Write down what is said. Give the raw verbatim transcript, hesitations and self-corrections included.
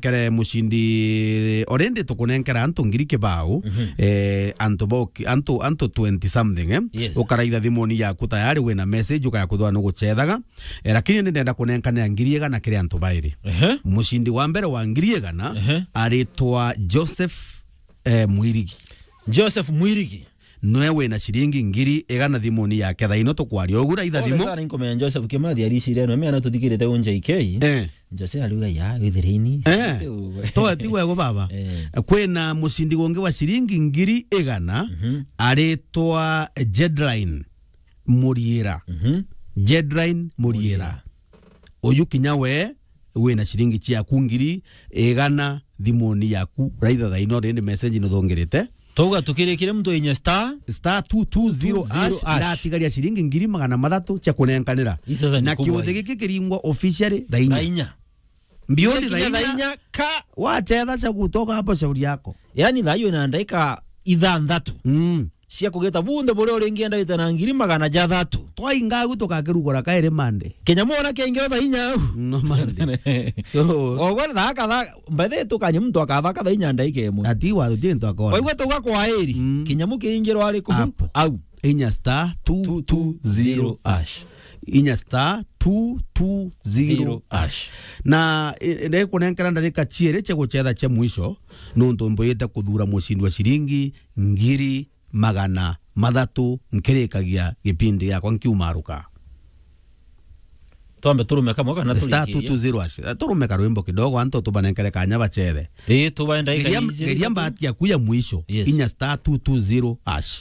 tukunenkere mucindi, already tukunenkera antu ngiri kibao, Mhm. eh, antu boki-, antu, antu twenty something, eh? Yes. Ukaraitha thimuni yaku tayari wina message ukaya kuthwa nugucethaga. Eh, lakini ni ndenda kunenkanira ngiri igana kiri antu bairi. Ehe. Mucindi wa mbere wa ngiri igana Ehe. aritwa Joseph, eh, Mwirigi. Joseph Mwirigi. Nwe wina ciringi ngiri igana thimuni yake thaa ino tukwaria ugu, raitha Pole thimu. Sana, inkomenya Joseph Kimathi aricire no, mena tuthikirite unja ikei. Eh. Jose ariuga, "Ya, withireni." Eh. Ati uwe. To ati wego baba. Eh. Kwina mucindi gungi wa ciringi ngiri igana, Mhm. aritwa Jedline Muriira. Mhm. Jedline Muriira. Muriira. Uyu kinya we wina ciringi ciaku ngiri igana thimuni yaku, raitha thaa ino rindi message nuthungirite. Twauga tukirikire muntu inya star Star two two zero hash, hash. Iratigaria ciringi ngiri magana mathatu cia kunenkanira. Ii sasa ni Na kubwa kiuthi hii. Giki kiringwa officially thaa inya. Thaa inya. Mbioni Kinya thaa inya. Thaa inya ka. Wachetha cia gutoka hapo shauri yako. Yaani thaa iyo na ndaika ithanthatu. Mm. Cia kugita bunthe buria uringienda wite na ngiri magana jathatu. Twainga agu tukakirugura kairi Monday. Kinya mwana kiaingira thaa inya au. No Monday. So, ogwe thaa katha, by the way, tukanye muntu akathaka thaa inya ndaika imwe. Ati wa tuti ntu akona. Waigua tuga kwa eri, Mm. Kinyamu kiingirwa ari ku Apo. Au. Inya star two two zero hash. Inya star two two zero hash. Na, e, e, ndikunenkera ndarika ciiri cia guchetha cia mwisho, nuntu mbuyite kuthura mucindi wa ciringi ngiri magana mathatu nkirikagia gipindi giakwa nkiumaruka. Twambe turume kamwe kana Star turikirie? Two two zero hash. Turume karwimbo kidogo, antu tubanenkere kanya bachethe. Ii, tubaenda Geria, ikaiji geria mbati yaku ya mwisho. Yes. Inya star two two zero hash.